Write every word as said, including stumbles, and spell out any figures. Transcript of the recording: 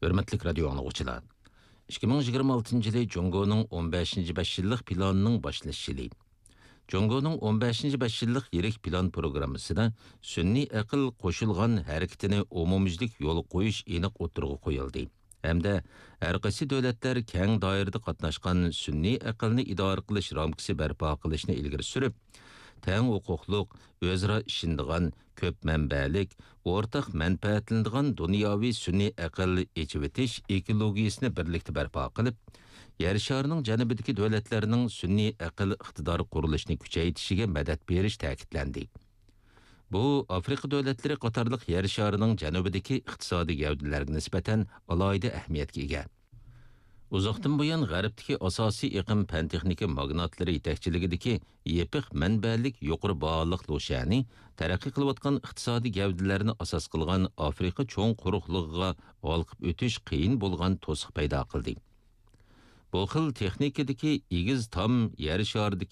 ھۆرمەتلىك رادىيو ئاڭلىغۇچىلار! ئىككى مىڭ يىگىرمە ئالتىنچى يىلى جۇڭگونىڭ ئون بەشىنچى بەش يىللىق پىلانىنىڭ باشلىنىش يىلى. جۇڭگونىڭ ئون بەشىنچى بەش يىللىق يىرىك پىلان پروگراممىسىدا سۈنئىي ئەقىل قوشۇلغان ھەرىكىتىنى ئومۇميۈزلۈك يولغا قويۇش ئېنىق ئوتتۇرىغا قويۇلدى ھەمدە ھەر قايسى دۆلەتلەر كەڭ دائىرىدە قاتناشقان سۈنئىي ئەقىلنى ئىدارە قىلىش رامكىسى بەرپا قىلىشنى ئىلگىرى سۈرۈپ، تەڭ ھوقۇقلۇق، ئۆزئارا ئىشىنىدىغان، كۆپ مەنبەلىك، ئورتاق مەنپەئەتلىنىدىغان دۇنياۋى سۈنئىي ئەقىل ئېچىۋېتىش ئېكولوگىيىسىنى بىرلىكتە بەرپا قىلىپ، يەر شارىنىڭ جەنۇبىدىكى دۆلەتلەرنىڭ سۈنئىي ئەقىل ئىقتىدار قۇرۇلۇشىنى كۈچەيتىشىگە مەدەت بېرىش تەكىتلەندى. بۇ ئافرىقا دۆلەتلىرى قاتارلىق يەر شارىنىڭ جەنۇبىدىكى ئىقتىسادىي گەۋدىلەرگە نىسبەتەن ئالاھىدە ئەھمىيەتكە ئىگە. ئۇزاقتىن بۇيان غەربتىكى ئاساسىي ئېقىم پەن-تېخنىكا ماگناتلىرى يېتەكچىلىكىدىكى يېپىق مەنبەلىك يۇقىرى باھالىق لۇشيەنى تەرەققىي قىلىۋاتقان ئىقتىسادىي گەۋدىلەرنى ئاساس قىلغان ئافرىقا چوڭ قۇرۇقلۇقىغا ھالقىپ ئۆتۈش قىيىن بولغان توسۇق پەيدا قىلدى. بۇ خىل تېخنىكىدىكى ئېگىز تام يەر شارىدىكى